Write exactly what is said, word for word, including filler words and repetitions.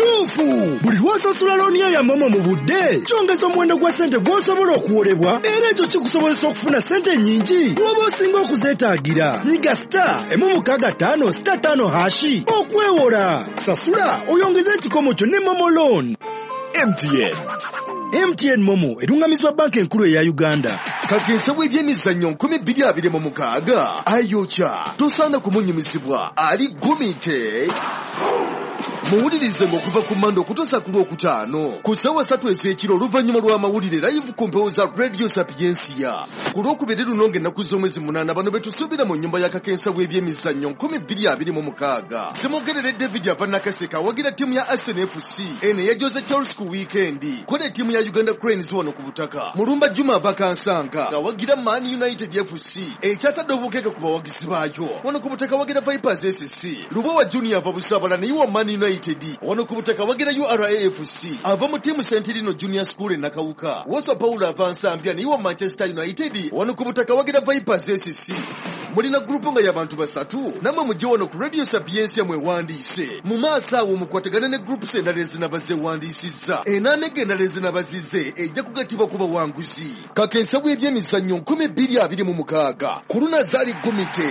Kituufu, buli lw'osasula looni yo ya MoMo mu budde, kyongeza omuwendo gwa ssente gw'osobola okuwolebwa, era ekyo kikusobozesa okufuna ssente nnyingi bw'oba osinga okuzeetaagira. Nyiga star emu mukaaga ttaano star ttaano hash okwewola. Sasula oyongeze ekikomo kyo ne MoMo loan. M T N. M T N MoMo erungamizibwa Banka Enkulu eya Uganda. Kakensa w'ebyemizannyo nkumi bbiri abiri mu mukaaga ayokya, tosaana kumunyumizibwa, ali gumite. Muwulirize ng'okuva ku Mande okutuusa ku Lwokutaano ku ssaawa ssatu ez'ekiro, oluvannyuma lw'amawulire, live ku mpewo za Radio Sapiensia. Ku Lwokubiri luno ng'ennaku z'omwezi munaana, bano be tusuubira mu nnyumba ya kakensa w'ebyemizannyo nkumi bbiri abiri mu mukaaga. Simugerere David ava Nakaseka, awagira ttiimu ya Arsenal F C eno eyajoze Chelsea ku wiikendi, kola ettiimu ya Uganda Cranes wano ku butaka. Mulumba Juma ava Kansanga, awagira Man United F C ekyatadde obukeeke ku bawagizi baayo, wano ku butaka awagira Vipers S C. Lubowa Junior ava Busabala, naye wa Man United, wano ku butaka awagira U R A F C. Ava mu ttiimu Sentirino Junior School e Nakawuka, Wosa Paulo ava Nsambya, naye wa Manchester United, wano ku butaka awagira Vipers S C. Mulina group nga y'abantu basatu, nammwe mujje wano ku Radio Sapiensia mwewandiise. Mu maaso awo mukwatagane ne groups endala ezinaba zeewandiisizza. Enaamega endala ezinaba zize ejja kugattibwa ku bawanguzi. Kakensa bw'ebyemizannyo nkumi bbiri abiri mu mukaaga ku lunazaali gumite.